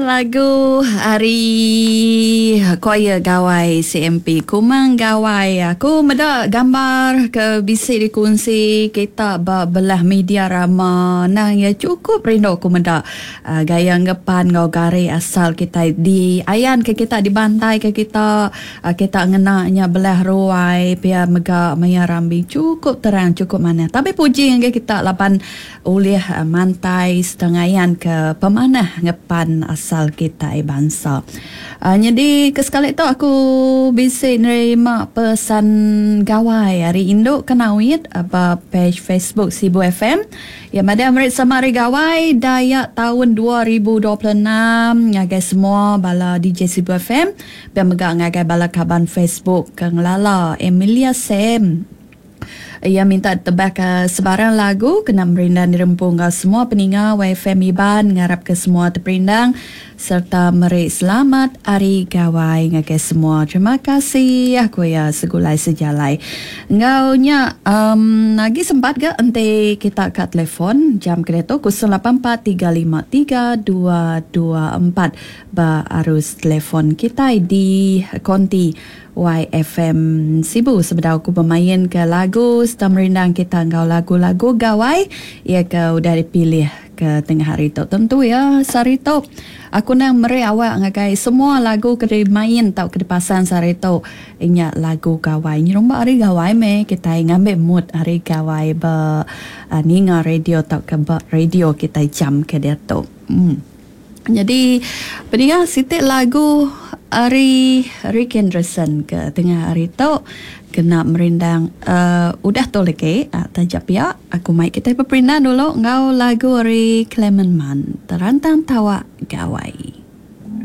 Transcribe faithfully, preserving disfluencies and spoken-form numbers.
Lagu ari choir Gawai C M P Kumang Gawai. Aku meda gambar ke bisi dikunsi kita ba belah media rama. Nah, ya cukup rindu aku meda uh, gaya ngepan ngau gari asal kita di ayan ke kita, dibantai ke kita, uh, kita ngena nya belah ruai pia mega maya rambi, cukup terang, cukup mana. Tapi puji ngagai kita laban ulih uh, mantai setengayan ke pemanah ngepan asal kita bangsa. Uh, jadi ke sekali tu aku bisi nerima pesan gawai hari Induk Kenawit ba page Facebook Sibu F M. Ya, pada merik sama hari gawai Dayak tahun dua ribu dua puluh enam ngagai semua bala D J Sibu F M dan mega ngagai bala kaban Facebook ke ngelala Emilia Sam. Ia minta tebak ke sebarang lagu kena merindang dirempung ke semua peninga Y F M Iban, ngarap ke semua terperindang serta meri selamat hari gawai ngagai semua. Terima kasih aku ya segulai sejalai. Ngau nya um, lagi sempat ke enti kita kat telefon jam kereta kosong lapan empat tiga lima tiga dua dua empat ba arus telefon kita di konti Y F M Sibu sebedau aku bermain ke lagu serta merindang kita ngau lagu-lagu gawai ya ke udah dipilih ke tengah hari tu. Tentu ya sehari tu aku nang meri awak ngagai semua lagu ke dimain tau ke dipasang sehari tu inya lagu gawai. Nyerumba hari gawai me kita ngambil mood hari gawai ba uh, ninga radio tau ke ba radio kita jam ke dia tu. Hmm. Jadi peninga, sitik lagu hari Rick Anderson ke tengah hari tu kena merindang uh, udah tu lagi uh, tajap ya aku mai kita berperindang dulu ngau lagu hari Clement Man, Terantang Tawak Gawai.